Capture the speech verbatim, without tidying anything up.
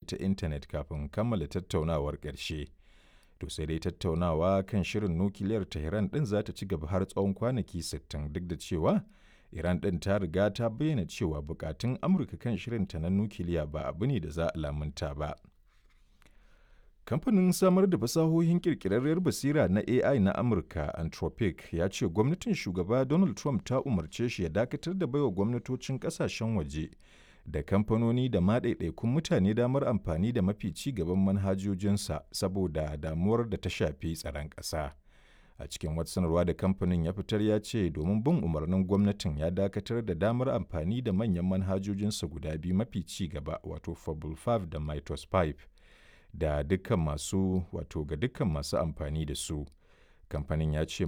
ta intanet kafin kammala tattaunawar ƙarshe. To sai dai tattaunawa kan shirin nukiliyar Tehran ɗin za ta ci gaba har tsawon kwanaki sittin duk da cewa Iran ɗin ta riga ta bayyana cewa bukatun Amurka kan shirinta na nukiliya ba abu ne da za a lamunta ba. Kamfanin samar da fasahohin ƙirƙirarriyar basira na A I na Amurka, Anthropic, ya ce gwamnatin Shugaba Donald Trump ta umarce shi ya dakatar da baiwa gwamnatocin ƙasashen waje da kamfanoni da ma ɗaiɗaikun mutane damar amfani da mafi ci gaban manhajojinsa saboda damuwar da ta shafi tsaron ƙasa. A cikin wata sanarwa da kamfanin ya fitar ya ce domin bin umarnin gwamnatin ya dakatar da damar amfani da manyan manhajojinsa guda biyu mafi ci gaba, wato Fable biyar da Mythos biyar, da dukkan masu wato ga dukkan masu amfani da su. Kamfanin ya ce mai